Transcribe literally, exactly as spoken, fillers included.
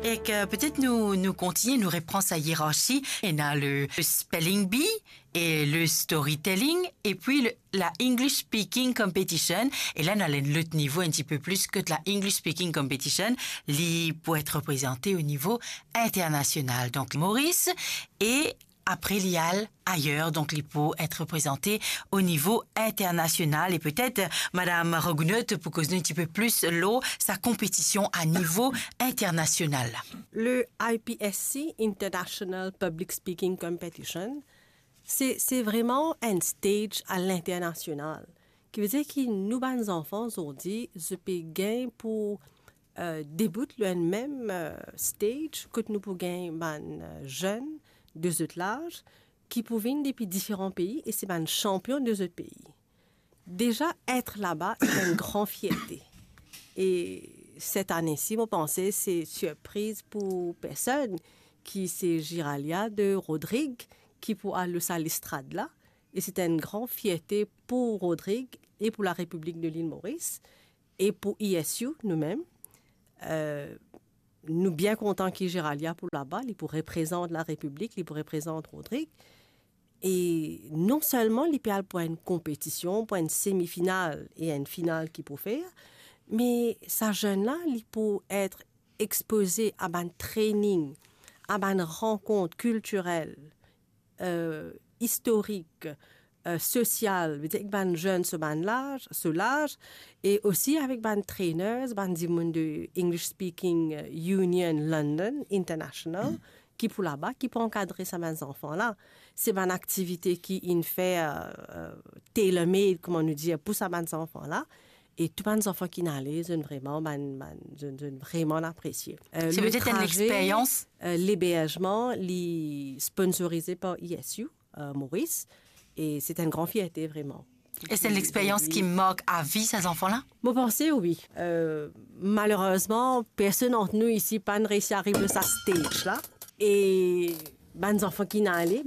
Ek, euh, petet nou, nou kontigne, nou repran sa ierarsi. Ena le, le spelling bee e le storytelling, epi le, la English Speaking Competition. E la, nou al enn lot nivo, enn tipe plis kot la English Speaking Competition. Li pou et reprezante o nivo internasional. Donk, Moris, e apre li al ayer, donk li pou et reprezante o nivo internasional. E petet, Madam Rogounot pou koz nou enn tipe plis lor sa konpetision a nivo internasional. Le I P S C, International Public Speaking Competition, se, se vreman enn stage a linternasional. Ki vedir ki nou bann zanfan zordi, zot pe gagn pou, euh, debout lor enn mem, euh, stage, kot nou pou gagn bann, euh, zenn de zot laz, ki pou vinn depi diferan pei e se bann sanpion de zot pei. Deza, et laba, se enn gran fierte. E set ane si, mo panse, se sirpriz pou personn ki se Giralia de Rodrig ki pou al lor sa lestrad la. E se enn gran fierte pou Rodrig e pou la Repiblik de Lil Moris e pou E S U, nou mem. Euh, nou bien kontan ki Giralia pou laba, li pou reprezant la Repiblik, li pou reprezant Rodrig. E non selman li pe al pou enn konpetision, pou enn semifinal e enn final ki pou fer, me sa zenn la, li pou et expoze a bann training, a bann rankont kiltirel, euh, istorik, euh, sosial, vedir ek bann zenn so bann laz, so laz, e osi avek bann trainers, bann dimoun de English Speaking Union London International, ki pou laba, ki pou ankadre sa bann zanfan la. Se bann aktivite ki inn fer, euh, euh, tailor-made, kouma nou dir, pou sa bann zanfan la. E tou bann zanfan ki inn ale, zot inn vreman, bann, bann, zot, zot inn vreman apresie. Euh, se le petet enn traze, lexperyans, euh, leberzman, li sponsorize par E S U, euh, Moris. E se enn gran fierte, vreman. E se enn lexperyans ki mark avi, sa zanfan la? Mo panse, wi. Euh, malerezman, personn ant nou isi pa'nn reysi ariv lor sa stage la. E bann zanfan ki inn ale,